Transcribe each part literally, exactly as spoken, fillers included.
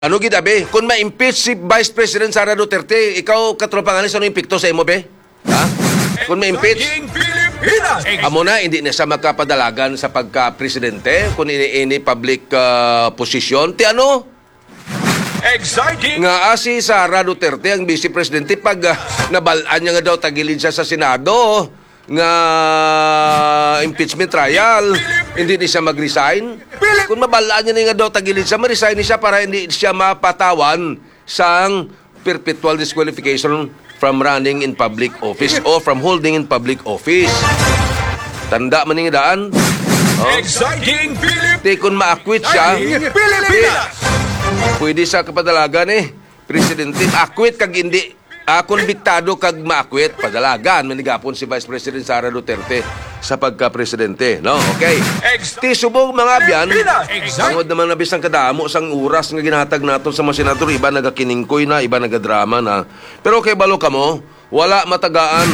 Ano gid, abi? Kung ma-impeach si Vice President Sara Duterte, ikaw, Katropang Alex, ano epekto sa imo, be? Ha? Kung ma-impeach? Exciting Pilipinas! Amo na, hindi na siya magkapadalagan sa pagka-presidente kung ini, ini public, ah, posisyon. Ti ano? Exciting! Nga, ah, si Sara Duterte ang vice presidente pag, ah, nabalaan niya nga daw tagilid siya sa Senado nga impeachment trial, hindi ni siya mag-resign. Kung mabalaan niya na nga daw tagilid siya, ma-resign ni siya para hindi siya mapatawan sang perpetual disqualification from running in public office o from holding in public office. Tanda man ning daan. Oh. Exciting Philippines! Ti kung ma-acquit siya, Pilipinas! Pwede sa kapadalagan eh, presidente, ma-acquit kag hindi, ah, konbiktado kag ma-acquit, padalagan man gihapon si Vice President Sara Duterte sa pagka-presidente, no? Okay. Ti subong, mga abyan, Pilipinas! Tungod naman na bisan kadamo sang oras nga ginahatag naton sa mga senador, iba nagakiningkoy na, iba nagadrama na. Pero kay balo kamo, wala matagaan.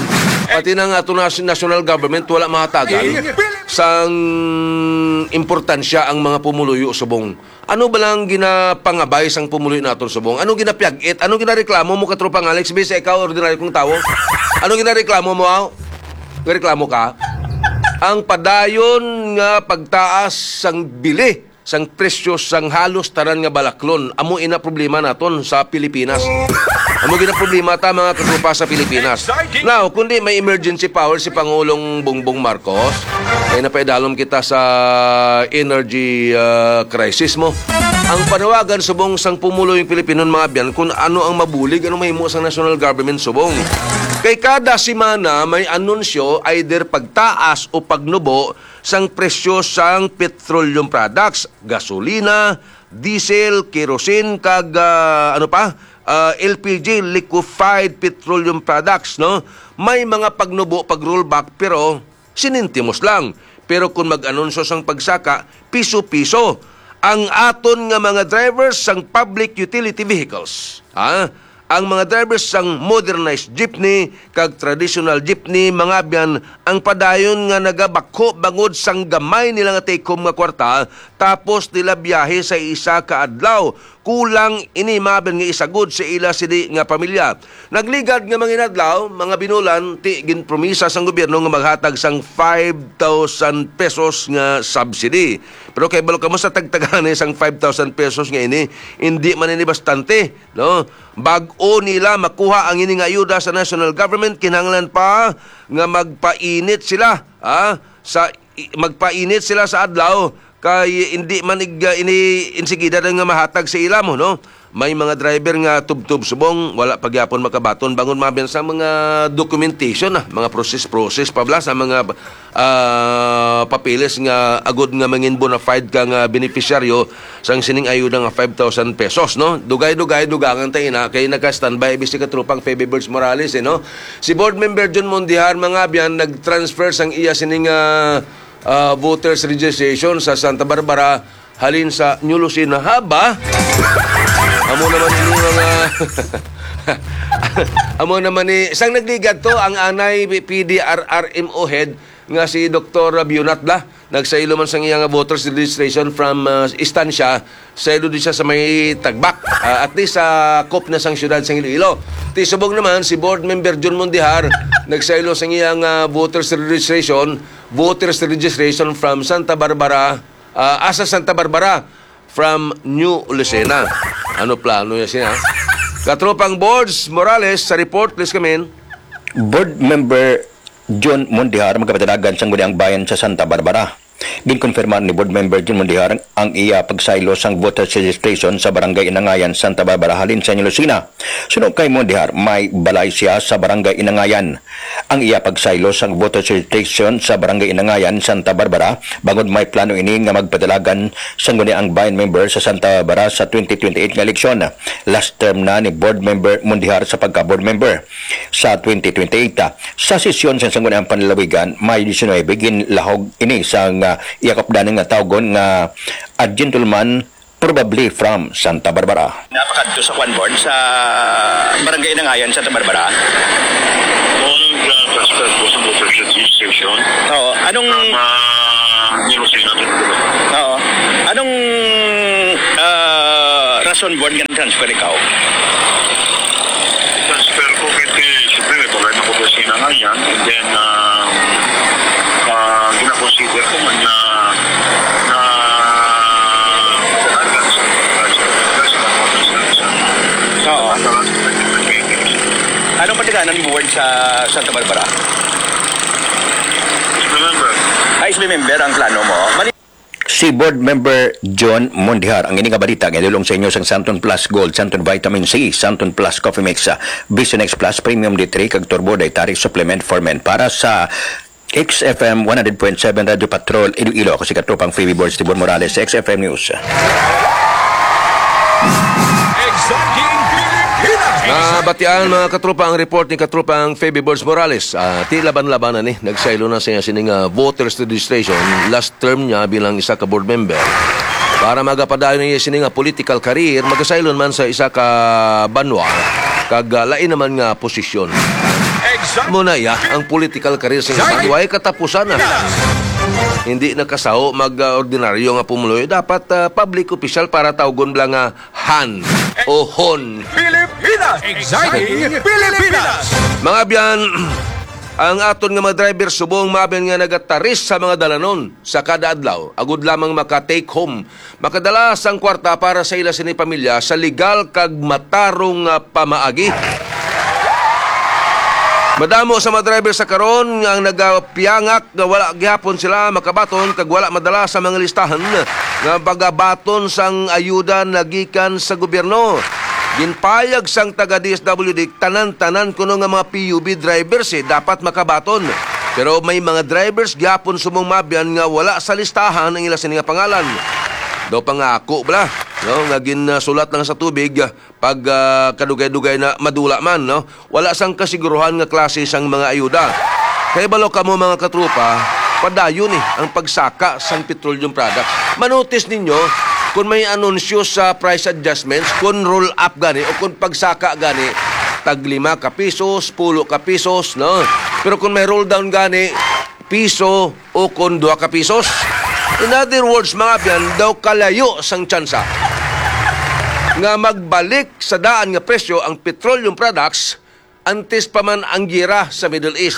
Pati na nga ato na national government, wala mahatagan sang importansya ang mga pumuluyo subong. Ano ba lang ginapangabay sang pumuluyo naton subong? Ano ginapiyag-it? Ano ginareklamo mo, Katropang Alex? Bisa ikaw, ordinaryo kong tawo. Ano ginareklamo mo, aw? Reklamo ka? Ang padayon nga pagtaas sang bili sang presyo sang halos tanan nga balaklon. Amo ina problema naton sa Pilipinas. Amo gina problema ta, mga katropa, sa Pilipinas. Now, kundi may emergency power si Pangulong Bongbong Marcos, kay napaidalom kita sa energy, ah, crisis mo. Ang panawagan subong sang pumulong Pilipino, mga abyan, kung ano ang mabulig, ano mahimo sang national government subong. Kay kada semana may anunsyo, either pagtaas o pagnubo sang presyo sang petroleum products, gasolina, diesel, kerosene, kag, ah, ano pa, ah, L P G, liquefied petroleum products, no? May mga pagnubo, pag-rollback, pero sinintimos lang. Pero kung mag-anunsyo sang pagsaka, piso-piso ang aton nga mga drivers sang public utility vehicles, ha? Ang mga drivers sang modernized jeepney kag traditional jeepney, mga abyan, ang padayon nga nagabakho bangod sang gamay nila nga take-home nga kwarta, tapos nila biyahe sa isa ka adlaw. Kulang ini, mga abyan, nga isagod sa ila sini nga pamilya. Nagligad nga mga inadlaw, mga binulan, ti ginpromisa sang gobyerno nga maghatag sang five thousand pesos nga subsidy. Pero kay balo kamo sa tagtagani sang five thousand pesos nga ini, hindi man ini bastante, no? Bag-o nila makuha ang ini nga ayuda sa national government, kinahanglan pa nga magpainit sila, ha? Sa i-, magpainit sila sa adlaw, kay hindi man ig-, ini insigida na nga mahatag sa ila mo, no? May mga driver nga tubtob subong, wala pa gyapon makabaton bangon, mga abyan, sa mga documentation, ah, mga process-process pa bala sa mga, ah, papeles nga agod nga mangin bona fide ka nga beneficiaryo sang sining ayuda nga five thousand pesos, no? Dugay-dugay, dugangan ta ina, kay naka-standby bisi ka tropang Feby Birds Morales, eh, no? Si Board Member John Mondihar, mga abyan, nag-transfer sang iya sining, ah, ah, voters registration sa Santa Barbara halin sa New Lucena. Haba? Amo naman ini, mga amo naman ni, sang nagligad to, ang anay P D R R M O head nga si Doktor Bionat Bla, nagsaylo man sang iya nga voters registration from, ah, Estancia, saylo di siya sa may Tagbak, ah, at least sa kop na sang siyudad sang Iloilo. Ti subong naman, si Board Member John Mondihar, nagsaylo sang iya nga voters registration, voters registration from Santa Barbara, ah, asa Santa Barbara, from New Lucena. Ano plano niya siya? Katropang Boards Morales, sa report, please come in. Board Member John Mondihar, magkapatalagan sang Guniang Bayan sa Santa Barbara. Ginkonfirmar ni Board Member John Mondihar ang iya pagsaylo sang voters registration sa Barangay Inangayan, Santa Barbara, halin sa New Lucena. Suno kay Mondihar, may balay siya sa Barangay Inangayan. Ang iya pagsaylo sang voters registration sa Barangay Inangayan, Santa Barbara, bangod may plano ini nga magpadalagan sang Guniang Bayan member sa Santa Barbara sa twenty twenty-eight nga eleksyon. Last term na ni Board Member Mondihar sa pagka-board member sa twenty twenty-eight. Sa sesyon sa Sangguniang Panlalawigan, Mayo diecinuebe, ginlahog ini sang, ah, iya kapdanan nga tawgon nga a gentleman, probably from Santa Barbara. Napakadto sa kwan board sa Barangay Inangayan, Santa Barbara. Noong nag-transfer po sa motor registration. Oo. Anong From, ah, New Lucena to Tagoloan. Oo. Anong, ah, Son buwan nga nag-transfer ikaw? Transfer ko kasi, siyempre, may problema ko sa sinangayan. And then, ah, ah, ginakonsider ko man na, na Oo. Anong pagdaganan mo buwan sa Santa Barbara? Remember. Ay, member ang plano mo. Mali- Si Board Member John Mondihar. Ang ini nga balita nga idulong sa inyo sang Santon Plus Gold, Santon Vitamin C, Santon Plus Coffee Mix, ah, Vision X Plus Premium D three, kag Turbo Dietary Supplement for Men para sa X F M one hundred point seven Radyo Patrol, Iloilo. Ako si Katropang Phoebe Borge Tibor Morales sa X F M News. Exciting Pilipinas! Nabatian, mga katropa, ang report ni Katropang Phoebe Borge Morales. Ah, ti laban-labanan ni, nagsaylo na siya sining, ah, voters registration. Last term niya bilang isa ka board member. Para magapadayon niya sini nga political career, magasaylon man sa isa ka banwa, kag, ah, lain naman nga posisyon. Mo na iya ang political career sa banwa, way katapusan na. Hindi nakasaho mag, ah, ordinaryo nga pumuluyo. Dapat, ah, public official para tawgon bala nga Han o Hon. Pilipinas! Exciting Pilipinas! Mga abyan, ang aton nga mga driver subong, mga abyan, nga nagataris sa mga dalanon sa kada adlaw, agud lamang maka-take home, makadala sang kwarta para sa ila sini pamilya sa legal kag matarong nga pamaagi. Madamo sa mga driver sa karon nga ang nagapiyangak nga wala gihapon sila makabaton kag wala madala sa mga listahan nga pagabaton sang ayuda nagikan sa gobyerno. Ginpayag sang taga D S W D tanan-tanan kuno nga mga P U B drivers, eh, dapat makabaton. Pero may mga drivers gyapon subong, mga abyan, nga wala sa listahan ang ila sini nga pangalan. Daw pangako bala, no, nga ginsulat lang sa tubig, pag, ah, kadugay-dugay na madula man, no? Wala sang kasiguruhan nga klase sang mga ayuda. Kay balo kamo, mga katropa, padayon ni ang pagsaka sang petroleum products. Manotis ninyo kung may anunsyo sa price adjustments, kung roll up gani o kung pagsaka gani, tag lima ka pisos, pulo ka pisos, no? Pero kung may roll down gani, piso o kon duha ka pisos. In other words, mga abyan, daw kalayo sang tsansa nga magbalik sa daan nga presyo ang petroleum products antes pa man ang gira sa Middle East.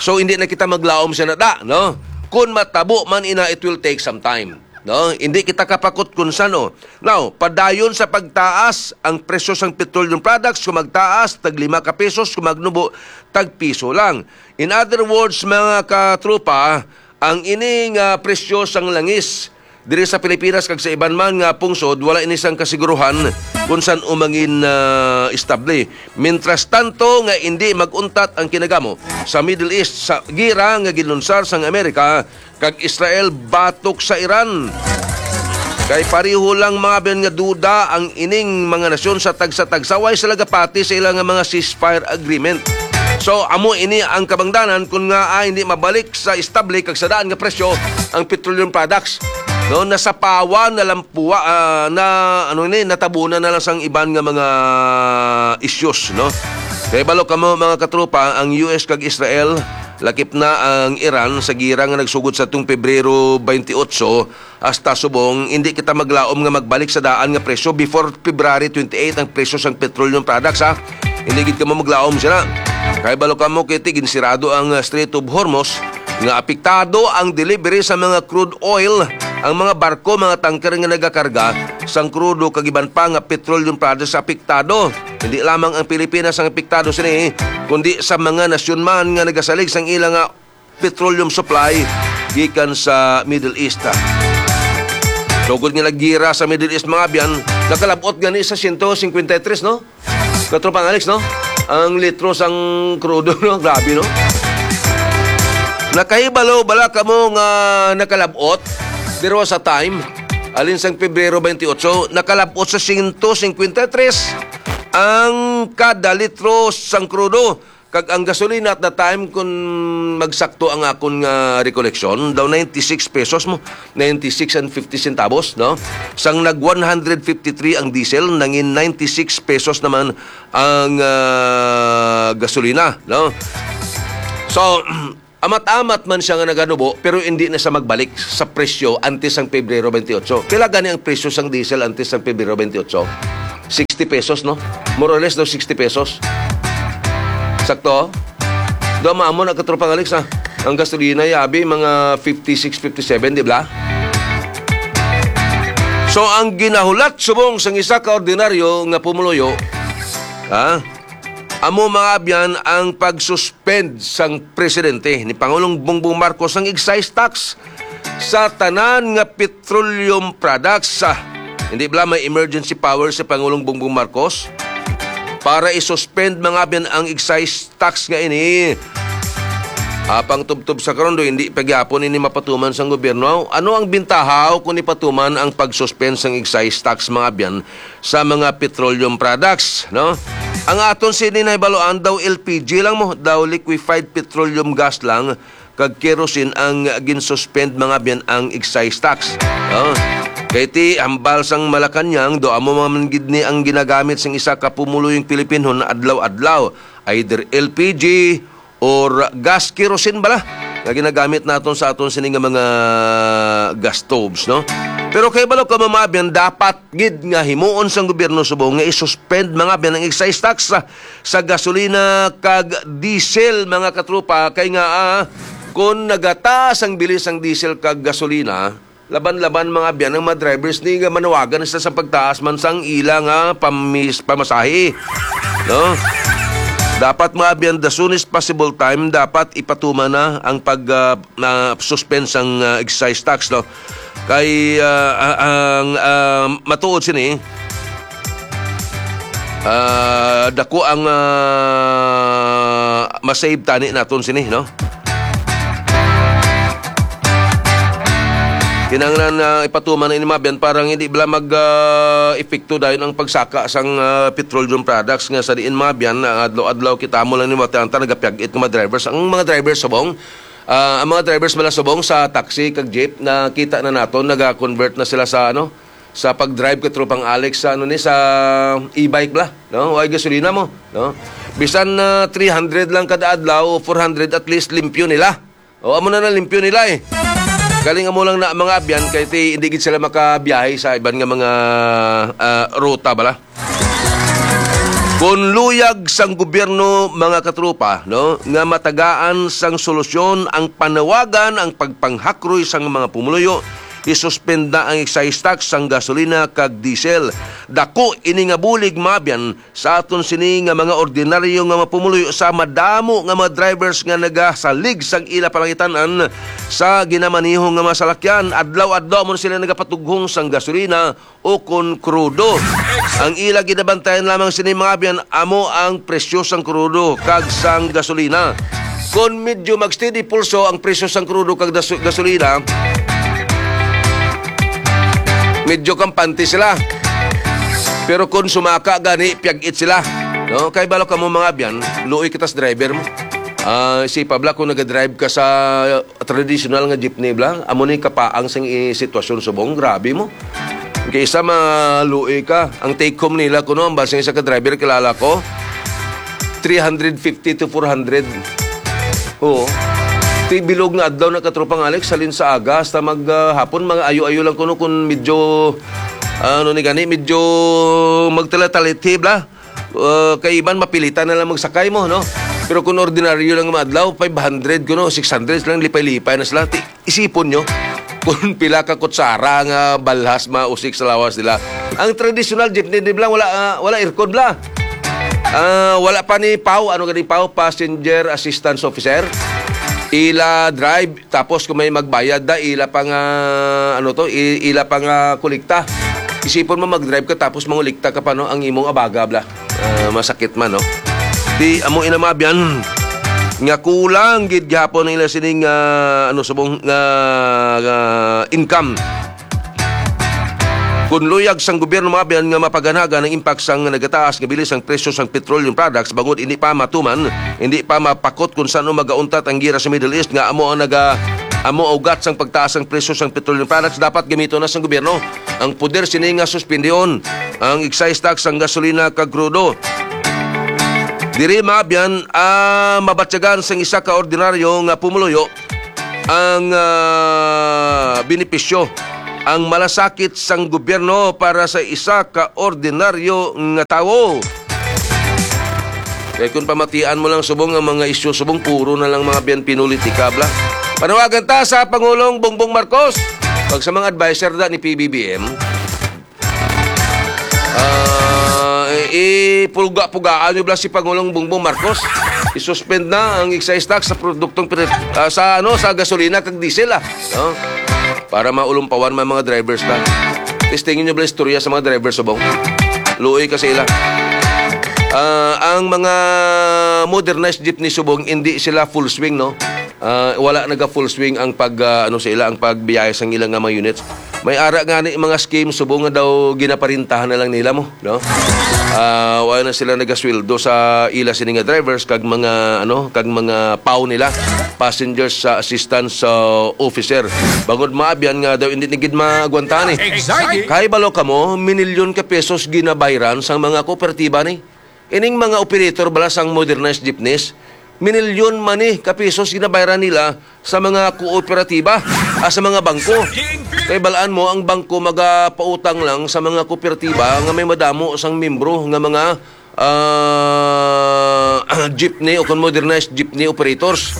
So, hindi na kita maglaom sa nada, no? Kung matabo man ina, it will take some time, no? Hindi kita kapakot kung sano. Now, padayon sa pagtaas ang presyo sang petroleum products, kung magtaas, tag lima ka pesos, kung magnubo, tag piso lang. In other words, mga katropa, ang ini nga presyo sang langis diri sa Pilipinas kag sa iban man nga pungsod, wala ini sang kasiguruhan kung san-o mangin, ah, estable. Mientras tanto nga indi mag-untat ang kinagamo sa Middle East sa gira nga ginlunsar sang Amerika kag Israel batok sa Iran. Kay pareho lang, mga abyan, nga duda ang ining mga nasyon sa tagsa-tagsa, way sila gapati sa ila nga mga ceasefire agreement. So, amo ini ang kabangdanan kun nga, ah, hindi mabalik sa estable kag sa daan nga presyo ang petroleum products. No, nasapawan, nalampuwa, ah, na, ano ni, natabunan na lang sang iban nga mga issues, no? Kay balo kamo, mga katropa, ang U S kag Israel, lakip na ang Iran sa gira nga nagsugod sa tung Pebrero twenty-eight hasta subong, hindi kita maglaom nga magbalik sa daan nga presyo before February twenty-eight ang presyo sang petroleum products, ha. Hindi gid kamo maglaom sila. Kay balo kamo kay ti ginsirado ang, uh, Strait of Hormuz, nga apektado ang delivery sa mga crude oil, ang mga barko, mga tanker nga nagakarga sang krudo kag iban pa nga petroleum products apektado. Hindi lamang ang Pilipinas ang apektado sini, kundi sa mga nasyon man nga nagasalig sang ila nga petroleum supply gikan sa Middle East. Tungod nga naggira sa Middle East, mga abyan, nakalabot gani sa siyento singkwenta y tres, no? Katropang Alex, no? Ang litro sang krudo, no? Grabe, no? Nakahibalo bala kamo nga nakalabot? There was a time, alin sang Pebrero twenty-eight, nakalabot sa siyento singkwenta y tres ang kada litro sang krudo. Kag ang gasolina at the time, kung magsakto ang akon nga recollection, daw ninety-six pesos mo, ninety-six and fifty centavos, no? Sang nag one hundred fifty-three ang diesel, nangin ninety-six pesos naman ang, ah, gasolina, no? So, Amat-amat man siya nga naganubo, pero hindi na siya magbalik sa presyo antes sang Pebrero twenty-eight. Pila gani ang presyo sang diesel antes sang Pebrero twenty-eight? Sixty pesos, no? More or less daw sixty pesos. Sakto? Daw maamo na, Katropang Alex, ah. Ang gasolina, yabi, mga fifty-six, fifty-seven, di ba? So, ang ginahulat subong sang isa ka ordinaryo nga pumuluyo, ha? Amo, mga abyan, ang pag-suspend sang presidente ni Pangulong Bongbong Marcos ang excise tax sa tanan nga petroleum products. Ah, hindi bala may emergency power si Pangulong Bongbong Marcos para i-suspend, mga abyan, ang excise tax nga ini? Apang tubtob sa karon, do, hindi pa gyapon ini mapatuman sang gobyerno. Ano ang bintaha kung ipatuman ang pag-suspend sang excise tax, mga abyan, sa mga petroleum products, no? Ang aton sini nahibaluan daw L P G lang mo, daw liquefied petroleum gas lang, kag kerosene ang ginsuspend, mga abyan, ang excise tax, no? Kay ti hambal sang Malacañang, do amo man gid ni ang ginagamit sang isa ka pumuluyong Pilipinhon adlaw-adlaw, either L P G or gas kerosene bala nga ginagamit naton sa aton sini nga mga gas stoves, no? Pero kay balo ka, mga abyan, dapat gid nga himuon sang gobyerno subong nga i-suspend, mga abyan, ang excise tax sa, sa gasolina kag diesel, mga katropa, kay nga, ah, kung nagataas ang bilis sang diesel kag gasolina, laban-laban, mga abyan, ang mga drivers ni nga manawagan sila sa pagtaas man sang ila nga pamis-, pamasahe, no? Dapat, mga abyan, the soonest possible time, dapat ipatuman na ang pag, ah, na suspend sang, ah, excise tax, no? Kay, ah, ah, ang, ah, matuod sini, ah, dako ang, ah, masave tani naton sini, no? Kinahanglan na ipatuman na ini, mga abyan, para hindi bala mag, ah, epekto dayon ang pagsaka sang, ah, petroleum products nga sa diin, mga abyan, ah, adlaw-adlaw kita mo lang ni mga nagapyag-it nga mga drivers. Ang mga drivers subong, ah, ang mga drivers bala subong sa taxi kag jeep, nakita na naton, naga-convert na sila sa, ano, sa pag-drive, Katropang Alex, sa, ano ni, sa e-bike bala, no? Way gasolina mo, no? Bisan na three hundred lang kada adlaw o four hundred, at least limpyo nila. O, amo na na, limpyo nila, eh. Galing amo lang na, mga abyan, kay ti, hindi gid sila makabiyahe sa iban nga mga, ah, ruta bala. Kung luyag sang gobyerno, mga katropa, no, nga matagaan sang solusyon ang panawagan, ang pagpanghakroy sang mga pumuluyo, isuspend na ang excise tax sang gasolina kag diesel. Dako ini nga bulig, mga abyan, sa aton sini nga mga ordinaryo nga mga pumuluyo, sa madamo nga mga drivers nga nagasalig sang ila palangitan-an sa ginamaneho nga mga salakyan. Adlaw-adlaw mo sila nagapatughong sang gasolina o kon krudo. Ang ila ginabantayan lamang sini, mga abyan, amo ang presyo sang krudo kag sang gasolina. Kon medyo mag-steady pulso ang presyo sang krudo kag dasu-, gasolina, medyo kampante sila. Pero kung sumaka gani, piyag-it sila. No? Kay balo kamo, mga abyan, luoy kita sa driver mo. Ah, si Pabla, kung nagadrive ka sa traditional nga jeepney bala, amo ni kapaang sang i-, sitwasyon subong, grabe mo. Kay isa maluoy ka. Ang take home nila kuno, ang basing sa ka-driver, kilala ko, three hundred fifty to four hundred. Oo. Ti bilog nga adlaw na, Katropang Alex, halin sa aga hasta mag, ah, hapon, mga ayo-ayo lang kuno kung medyo, ano ni gani, medyo magtalatalithi bala. Uh, kay iban mapilitan na lang magsakay mo, no? Pero kung ordinaryo lang nga adlaw, five hundred kuno, six hundred lang, lipay-lipay na sila. Ti-, isipon nyo kung pila ka kutsara nga balhas mausik sa lawas nila. Ang traditional jeepney, di bala, wala, ah, wala aircon bala. Ah, wala pa ni pau, ano gani pau, passenger assistance officer. Ila drive, tapos kung may magbayad da, ila pa nga, ano to, i-, ila pa nga kolekta. Isipon mo, mag-drive ka tapos mangulikta ka pa, no, ang imong abaga bala. Ah, masakit man, no? Di amo ina, mga abyan, nga kulang gid gihapon nila sining, ah, ano, subong nga, nga income. Kun luyag sang gobyerno, mga abyan, nga mapaganagan ang impact sang nagataas nga bilis ang presyo sang petroleum products, bangod hindi pa matuman, hindi pa mapakot kung saan magauntat ang gira sa Middle East nga amo ang naga-, amo ugat sang pagtaas sang presyo sang petroleum products, dapat gamiton na sang gobyerno ang poder sini nga suspendihon ang excise tax sang gasolina kag krudo. Diri, mga abyan, ah, mabatyagan sang isa ka ordinaryo nga pumuluyo ang, ah, benepisyo, ang malasakit sang gobyerno para sa isa ka ordinaryo nga tawo. Kay kung pamatian mo lang subong ang mga isyu, subong puro na lang mga abyan pinulitika, bla. Panawagan ta sa Pangulong Bongbong Marcos, pag sa mga adviser da ni P B B M, ah, ipulga-pugaan nyo bla si Pangulong Bongbong Marcos. I-suspend na ang excise tax sa produktong pinat-, ah, sa, ano, sa gasolina kag diesel, ah. No? Para maulumpawan man mga drivers na. Testingin nyo bla istorya sa mga drivers subong. Luoy ka sa ila. Ah, ang mga modernized jeepney subong, hindi sila full swing, no? Ah, wala naga full swing ang pag, ah, ano sa ila, ang pagbiyahe sang ila nga mga units. May ara nga ni mga scheme subong nga daw ginaparintahan na lang nila mo, no? Ah, wala na sila nagasweldo sa ila sini nga drivers kag mga, ano, kag mga paw nila, passengers sa assistance sa officer. Bangod maabyan nga daw hindi ni gid maagwantahan eh. Kay balo kamo, minilyon ka pesos ginabayran sang mga kooperatiba ni. Ining mga operator bala sang modernized jeepneys, minilyon man ni ka pesos ginabayran nila sa mga kooperatiba, ah, sa mga bangko. Kay balaan mo, ang bangko magapautang lang sa mga kooperatiba nga may madamo sang membro nga mga, ah, jeepney o kon modernized jeepney operators.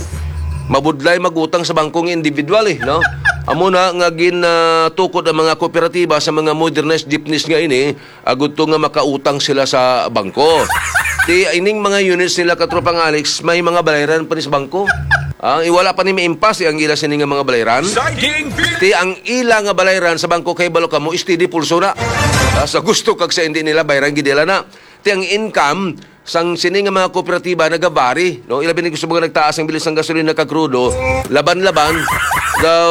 Mabudlay magutang sa bangko nga individual eh, no? Amo na nga gin, ah, tukod ang mga kooperatiba sa mga modernized jeepneys nga ini, agud to nga makautang sila sa bangko. Ti ining mga units nila, Katropang Alex, may mga balayran pa ni sa bangko. Ah, iwala pa ni maimpas ang ila sini nga mga balayran. Ti ang ila nga balayran sa bangko kay balo kamo steady pulso na. Ah, sa gusto kag sa hindi nila bayran gid nila na. Ti ang income sang sini nga mga kooperatiba nagabari, no? Ilabi ni gusto mga nagtaas ang bilis sang gasolina kag krudo, laban-laban daw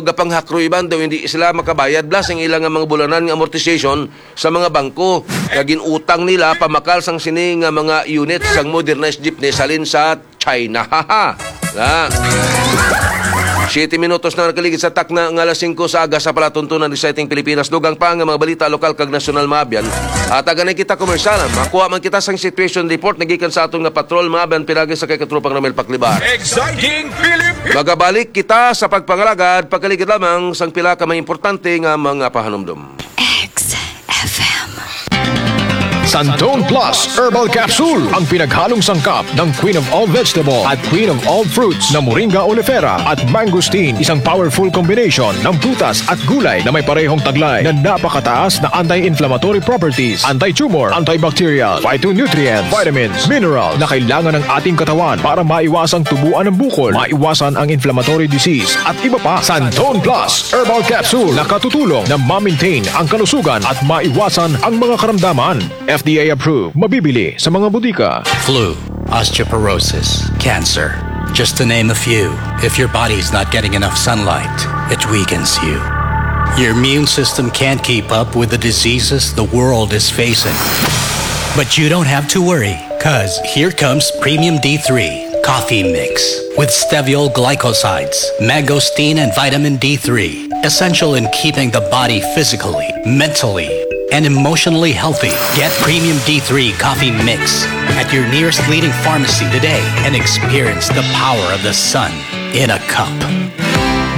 gapanghakroy man daw hindi sila makabayad blas ang ila nga mga bulanan nga amortization sa mga bangko nga ginutang nila pamakal sang sini nga mga unit sang modernized jeepney halin sa China. Haha. Na. Siyete minutos na nakaligid sa takna nga alas singko sa aga sa palatuntunan sa ating Pilipinas. Dugang pa nga mga balita lokal kag nasyonal, maabyan. At aganay kita komersyal. Makuha man kita sang situation report nagikan sa aton nga patrol, maabyan, pinagi sa kay Katropang Ramel Paklibar. Exciting Philippines! Magabalik kita sa pagpangalagad, pagkaligid lamang sang pila ka mga importante nga mga pahanumdom. X F M. Santon Plus Herbal Capsule, ang pinaghalong sangkap ng Queen of All Vegetable at Queen of All Fruits na Moringa oleifera at mangosteen, isang powerful combination ng prutas at gulay na may parehong taglay na napakataas na anti-inflammatory properties, anti-tumor, antibacterial, phytonutrient, vitamins, mineral na kailangan ng ating katawan para maiwasang tubuan ng bukol, maiwasan ang inflammatory disease, at iba pa. Santon Plus Herbal Capsule nakatutulong na ma-maintain ang kalusugan at maiwasan ang mga karamdaman. F D A approved. Mabibili sa mga botika. Flu, osteoporosis, cancer, just to name a few. If your body's not getting enough sunlight, it weakens you. Your immune system can't keep up with the diseases the world is facing. But you don't have to worry, 'cause here comes Premium D three Coffee Mix with steviol glycosides, mangosteen, and vitamin D three, essential in keeping the body physically, mentally, and emotionally healthy. Get Premium D three Coffee Mix at your nearest leading pharmacy today and experience the power of the sun in a cup.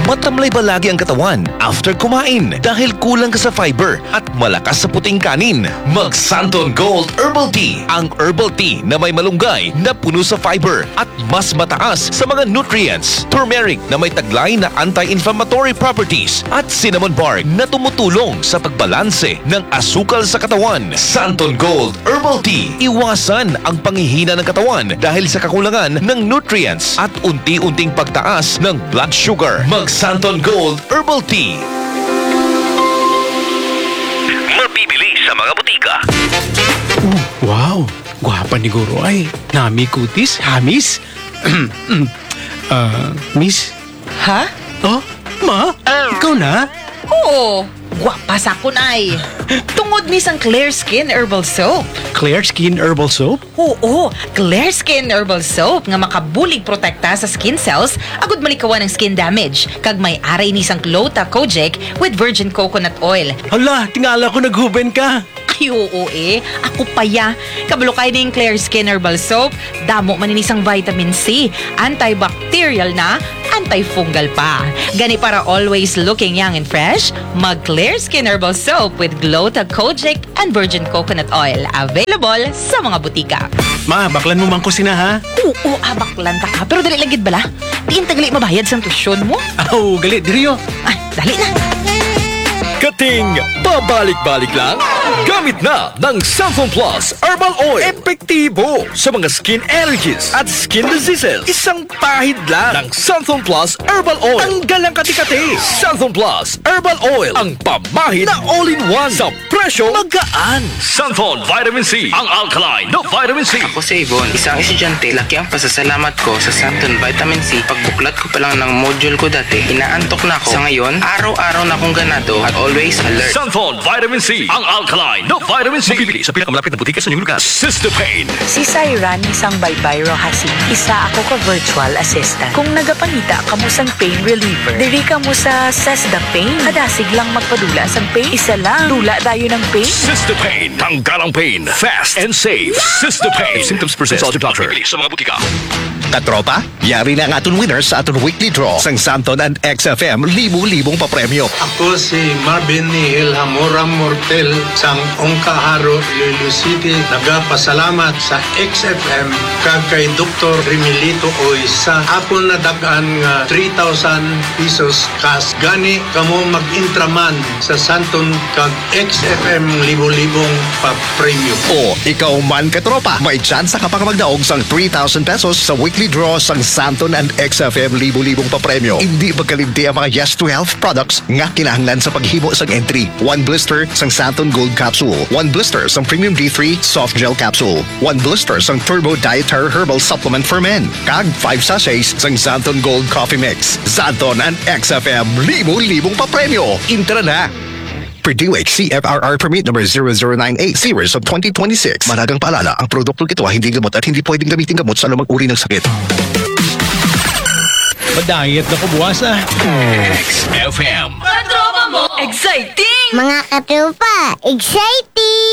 Matamlay ba lagi ang katawan after kumain dahil kulang ka sa fiber at malakas sa puting kanin? Mag Santon Gold Herbal Tea, ang herbal tea na may malunggay na puno sa fiber at mas mataas sa mga nutrients, turmeric na may taglay na anti-inflammatory properties, at cinnamon bark na tumutulong sa pagbalanse ng asukal sa katawan. Santon Gold Herbal Tea. Iwasan ang panghihina ng katawan dahil sa kakulangan ng nutrients at unti-unting pagtaas ng blood sugar. Mag Santon Gold Herbal Tea. Mabibili sa mga botika. Oh, wow! Gwapa ni Guro ay. Nami kutis, hamis. Ah, miss? Ha? Oh, ma? Ikaw na? Oo, gwapa sa akon ay. Tungod ni sang Clear Skin Herbal Soap. Clear Skin Herbal Soap? Oo, Clear Skin Herbal Soap nga makabulig protekta sa skin cells agud malikawan ang skin damage. Kag may aray ni sang Clota Kojic with virgin coconut oil. Hala, tingala ko naghuben ka. Ay, oo eh. Ako pa ya. Kabalo kay ning Clear Skin Herbal Soap. Damo man ini sang vitamin C. Antibacterial na, antifungal pa. Gani para always looking young and fresh, mag Clear Skin Herbal Soap with Gluta Kojic and Virgin Coconut Oil. Available sa mga butika. Ma, baklan mo man ko sina, ha? Oo, ah, baklan ta ka. Pero dali lang gid bala. Diin ta gali mabayad sa tuition mo? Aw, gali, diri, oh. Ah, dali na. Kating pabalik-balik lang? Gamit na ng Santon Plus Herbal Oil. Epektibo sa mga skin allergies at skin diseases. Isang pahid lang ng Santon Plus Herbal Oil. Tanggal ang kati-kati. Santon Plus Herbal Oil. Ang pamahid na all-in-one sa presyo magaan. Santon Vitamin C, ang alkaline na vitamin C. Ako si Yvonne, isang estudyante. Laki ang pasasalamat ko sa Santon Vitamin C. Pagbuklat ko pa lang ng module ko dati, inaantok na ako. Sa ngayon, araw-araw na akong ganado at always alert. Santon Vitamin C, ang alkaline na vitamin C. Mabibili sa pinakamalapit na butika sa inyong lugar. Sister Pain. Si Cyrani sang Baybay Rojasin, isa ako ka virtual assistant. Kung nagapangita kamo sang pain reliever, diri kamo sa Sesda Pain. Kadasig lang magpadula sang pain, isa lang. Dula dayon ang pain. Sister Pain. Tanggal ang pain. Fast and safe. Sister Pain. If symptoms persist, consult your doctor. Mabibili sa mga butika. Katropa, yari na ang aton winners sa aton weekly draw sang Santon and X F M libo-libong papremyo. Ako si Marvin Nihil Hamora Mortel sang Ongkaharo, Iloilo City. Nagapasalamat sa X F M kag kay Doktor Remilito Oy sa akon nadag-an nga three thousand pesos cash. Gani kamo mag-intraman sa Santon kag X F M libo-libong papremyo. O ikaw man, katropa, may tsansa ka pa nga magdaog sang three thousand pesos sa weekly draw sang Santon and X F M libo-libong papremyo. Indi magkalimti ang mga Yes to Health products nga kinahanglan sa paghimo sang entry. One blister sang Santon Gold Capsule, one blister sang Premium D three Soft Gel Capsule, one blister sang Turbo Dietary Herbal Supplement for Men, kag five sachets sang Santon Gold Coffee Mix. Santon and X F M, libo-libong papremyo. Intra na! Purdue C F R R Permit Number zero zero nine eight, Series of twenty twenty-six. Mahalagang paalala, ang produktong ito ay hindi gamot at hindi pwedeng gamitin gamot sa anumang uri ng sakit. Mag-diet na ko buwas, ah. X F M. Exciting! Mga katropa, exciting!